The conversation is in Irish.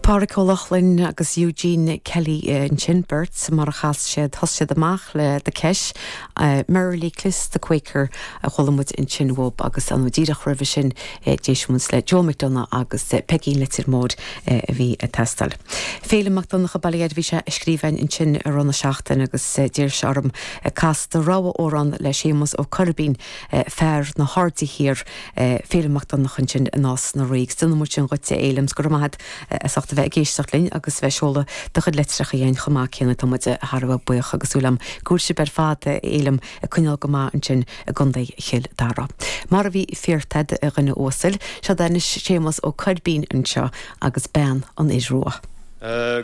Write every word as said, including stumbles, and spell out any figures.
Pádraig Ó Lochlainn agus Eugene Kelly ansin beirt mar a chas siad thosaigh siad amach le The Kesh, Merrily Cliss the Quaker a chuala muid ansin uaidh agus an díreach roimhe sin d'éist muid le Joe McDonagh agus Peigín Leitir Móir a bhí ag teastáil. Féilim Mac Donncha Baile bhí sé ag scríobh ansin i rith na seachtaine agus d'iarr sé orm cas do rogha amhrán le Séamus Ó Coirbín fear na hAirde Thiar Féilim Mac Donncha ansin i Nás na Ríogh. Déanfaidh muid sin dhuit a Fhéilim go raibh maith as ucht a bheith ag éisteacht linn agus bheith ag seoladh do chuid litreacha chugainn chomh maith céanna tá muid thar a bheith buíoch agus súil agam go bhfuil sibh ar fad a Fhéilim ag coinneáil go maith ansin i gContae Chill Dara. Mar a bhí feartad a dhuine uasail, seo anois Séamus Ó Coirbín anseo agus bean an fhir rua.